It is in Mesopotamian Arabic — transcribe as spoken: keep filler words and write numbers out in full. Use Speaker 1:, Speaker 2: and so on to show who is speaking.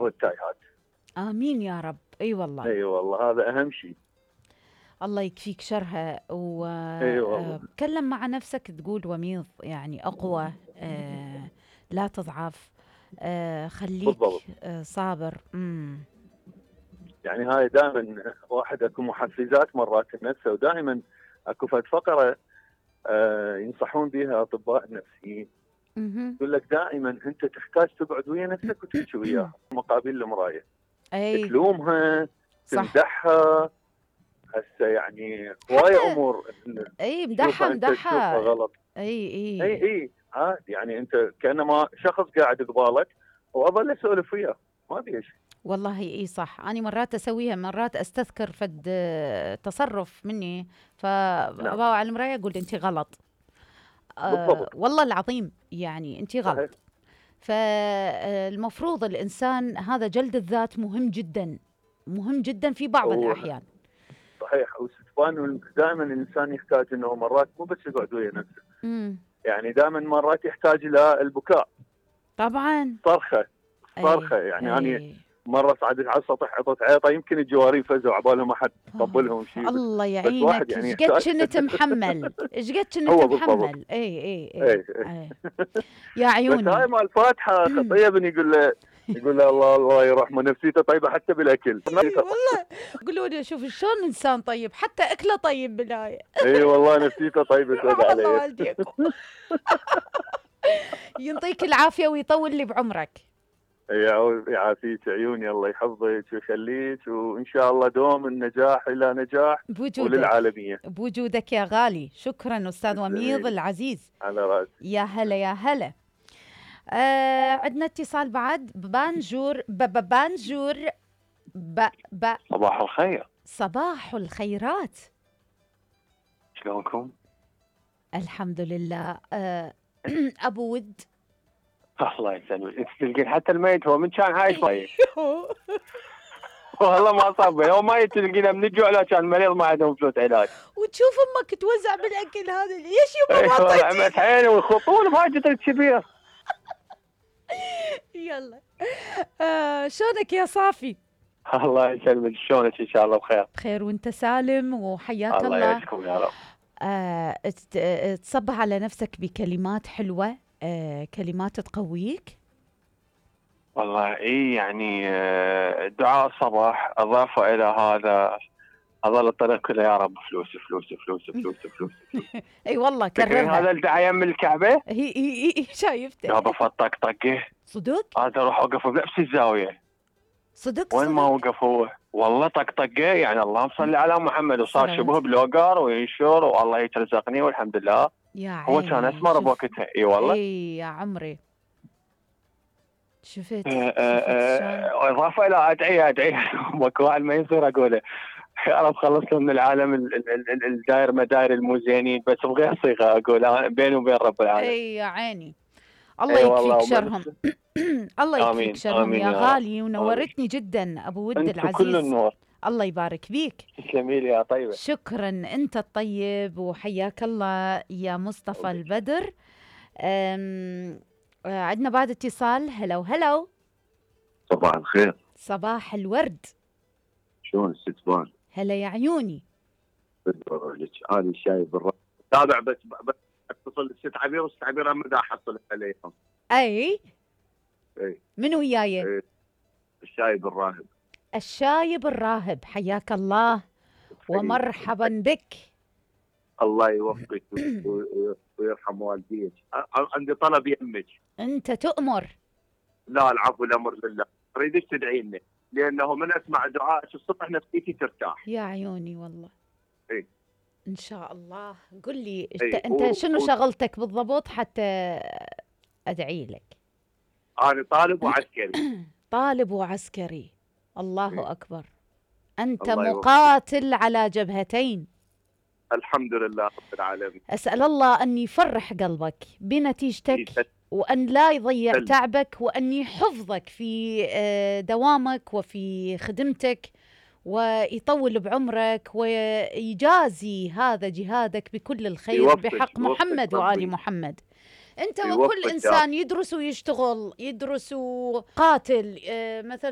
Speaker 1: والتايهات.
Speaker 2: آمين يا رب. أي والله.
Speaker 1: اي والله هذا اهم شيء.
Speaker 2: الله يكفيك شرها.
Speaker 1: اي والله.
Speaker 2: وتكلم مع نفسك تقول وميض، يعني أقوى، آه لا تضعف، آه خليك
Speaker 1: بالضبط.
Speaker 2: آه صابر. مم.
Speaker 1: يعني هاي دائما واحد اكو محفزات مرات النفسه، ودائما اكو فد فقره آه ينصحون بها اطباء النفسيين.
Speaker 2: مهم.
Speaker 1: يقول لك دائما انت تحتاج تقعد ويا نفسك وتحكي وياها مقابل المرايه،
Speaker 2: أي
Speaker 1: تلومها،
Speaker 2: صح.
Speaker 1: تمدحها. هسه يعني هواي
Speaker 2: حتى
Speaker 1: امور
Speaker 2: أي
Speaker 1: تشوفها
Speaker 2: مدحها
Speaker 1: انت تشوفها
Speaker 2: مدحها.
Speaker 1: غلط.
Speaker 2: أي
Speaker 1: اي
Speaker 2: أي
Speaker 1: اي عادي، يعني انت كانما شخص قاعد قبالك واظل اسولف وياه ما في شيء.
Speaker 2: والله اي صح. انا مرات اسويها، مرات استذكر فد آه، تصرف مني،
Speaker 1: نعم
Speaker 2: فابا على المرايه اقول انت غلط. آه
Speaker 1: بالضبط.
Speaker 2: والله العظيم يعني انت
Speaker 1: صحيح.
Speaker 2: غلط. فالمفروض الانسان هذا جلد الذات مهم جدا، مهم جدا في بعض
Speaker 1: هو
Speaker 2: الاحيان.
Speaker 1: صحيح. وستفان دائما الانسان يحتاج انه مرات مو بس يقعد ويا نفسه،
Speaker 2: امم
Speaker 1: يعني دائما مرات يحتاج الى البكاء،
Speaker 2: طبعا.
Speaker 1: صرخه
Speaker 2: اي
Speaker 1: صرخه. يعني انا
Speaker 2: اي
Speaker 1: مره صعدت على السطح عطت عيطه، يمكن الجوارين فزوا عبالهم احد طبلهم شيء، بس
Speaker 2: الله
Speaker 1: بس واحد
Speaker 2: يعينك.
Speaker 1: يعني
Speaker 2: ايش قد
Speaker 1: يحتاج.
Speaker 2: كنت محمل، ايش قد كنت
Speaker 1: هو بالضبط.
Speaker 2: محمل. اي اي
Speaker 1: اي
Speaker 2: اي,
Speaker 1: اي.
Speaker 2: أي. يا
Speaker 1: بس
Speaker 2: عيوني.
Speaker 1: هاي مال الفاتحه خطيه بن يقول له يقول له الله الله يرحمه نفسيته طيبه حتى بالاكل.
Speaker 2: اي والله. قولوا لي شوف شلون انسان طيب، حتى اكله طيب بالآية.
Speaker 1: اي والله نفسيته طيبه سود
Speaker 2: رحم الله
Speaker 1: عليه.
Speaker 2: والديكم. يعطيك العافيه ويطول لي بعمرك.
Speaker 1: يعو- يعافيك عيوني، الله يحفظك ويخليك، وان شاء الله دوم النجاح الى نجاح
Speaker 2: بوجودك،
Speaker 1: وللعالميه.
Speaker 2: بوجودك يا غالي. شكرا استاذ وميض
Speaker 1: جميل.
Speaker 2: العزيز.
Speaker 1: على راسي.
Speaker 2: يا هلا يا هلا. آه عندنا اتصال بعد. بانجور ب- بانجور ب ب
Speaker 3: صباح الخير،
Speaker 2: صباح الخيرات.
Speaker 3: شلونكم؟
Speaker 2: الحمد لله. آه ابو ود.
Speaker 3: الله يسلمك، انت تلقين حتى الميت هو من كان عايش ميت. والله ما صاب هو ميت تلقينه من الجوع، لا كان مريض ما عندهم فلوس علاج.
Speaker 2: وتشوف امك توزع بالاكل هذا، ليش يما ما
Speaker 3: والله
Speaker 2: اعطيتي؟
Speaker 3: عمت عيني ويخطون بحاجة الكبير.
Speaker 2: يلا. آه شلونك يا صافي؟
Speaker 3: الله يسلمك، شلونك؟ ان شاء الله بخير.
Speaker 2: بخير وانت سالم وحياك
Speaker 3: الله
Speaker 2: الله.
Speaker 3: يعيشكم يا رب.
Speaker 2: آه ت- آه، تصبح على نفسك بكلمات حلوة، آه كلمات تقويك.
Speaker 3: والله اي يعني آه، دعاء الصباح اضافه الى هذا اظل الطريق كله يا رب فلوس فلوس فلوس فلوس فلوس.
Speaker 2: اي والله
Speaker 3: تدرين هذا
Speaker 2: كررها.
Speaker 3: الدعاء يم الكعبه
Speaker 2: هي هي هي شايفته.
Speaker 3: يابا الطقطقه،
Speaker 2: صدق
Speaker 3: هذا اروح اوقف بنفس الزاويه
Speaker 2: صدق
Speaker 3: وين ما
Speaker 2: صدق.
Speaker 3: وقف هو، والله طقطقه يعني اللهم صل على محمد، وصار
Speaker 2: صلوات.
Speaker 3: شبه بلوجر وينشر والله يترزقني والحمد لله.
Speaker 2: يا
Speaker 3: هو
Speaker 2: عيني.
Speaker 3: كان اسمر
Speaker 2: شوف.
Speaker 3: بوقتها. اي والله.
Speaker 2: اي يا عمري. شفت
Speaker 3: آه،
Speaker 2: شفت
Speaker 3: آه،
Speaker 2: شلون.
Speaker 3: آه، اضافه الى ادعيه ادعيه ماكو واحد ما يصير اقوله يا رب خلصنا من العالم ال- ال- ال- الداير مداير المو-زينين، بس بغير صيغه اقول بيني وبين رب العالمين.
Speaker 2: اي يا عيني. الله
Speaker 3: اي والله
Speaker 2: يكفيك شرهم. الله يكفيك
Speaker 3: امين
Speaker 2: شرهم
Speaker 3: امين
Speaker 2: يا
Speaker 3: يا رب.
Speaker 2: غالي، ونورتني جدا ابو ود
Speaker 3: انت كل
Speaker 2: العزيز.
Speaker 3: النور.
Speaker 2: الله يبارك بيك.
Speaker 3: تسلمي لي يا طيبه.
Speaker 2: شكرا، انت الطيب وحياك الله يا مصطفى البدر. أم، آه، عندنا بعد اتصال. هلو هلو.
Speaker 4: صباح الخير،
Speaker 2: صباح الورد.
Speaker 4: شلون الستفان؟
Speaker 2: هلا يا عيوني.
Speaker 4: انا الشاي بالرأي تابع، بس بس اتصل الست عبير والست عبير ما دا احصل عليهم.
Speaker 2: اي
Speaker 4: اي
Speaker 2: من وياي؟
Speaker 4: اي الشاي بالراهب.
Speaker 2: الشايب الراهب، حياك الله ومرحبا بك.
Speaker 4: الله يوفقك و- و- ويرحم والديك. ع- عندي طلب يمك.
Speaker 2: انت تؤمر.
Speaker 4: لا العفو، الامر لله. اريدك تدعي لنا، لانه من اسمع دعائك الصبح نفسيتي ترتاح.
Speaker 2: يا عيوني والله.
Speaker 4: اي
Speaker 2: ان شاء الله. قل لي
Speaker 4: إيه،
Speaker 2: انت انت
Speaker 4: و-
Speaker 2: شنو
Speaker 4: و-
Speaker 2: شغلتك بالضبط حتى ادعي لك؟
Speaker 4: انا طالب وعسكري.
Speaker 2: طالب وعسكري. الله
Speaker 4: إيه.
Speaker 2: اكبر. انت
Speaker 4: الله يوفقك.
Speaker 2: مقاتل على جبهتين.
Speaker 4: الحمد لله رب العالمين.
Speaker 2: اسال الله ان يفرح قلبك بنتيجتك، وأن لا يضيع
Speaker 4: سلم.
Speaker 2: تعبك، وأن يحفظك في آه، دوامك وفي خدمتك، ويطول بعمرك، ويجازي هذا جهادك بكل الخير
Speaker 4: يوفق-
Speaker 2: بحق
Speaker 4: يوفق
Speaker 2: محمد وآل
Speaker 4: ربي.
Speaker 2: محمد. أنت
Speaker 4: يوفق
Speaker 2: وكل
Speaker 4: يا
Speaker 2: إنسان يدرس ويشتغل، يدرس وقاتل، آه، مثلا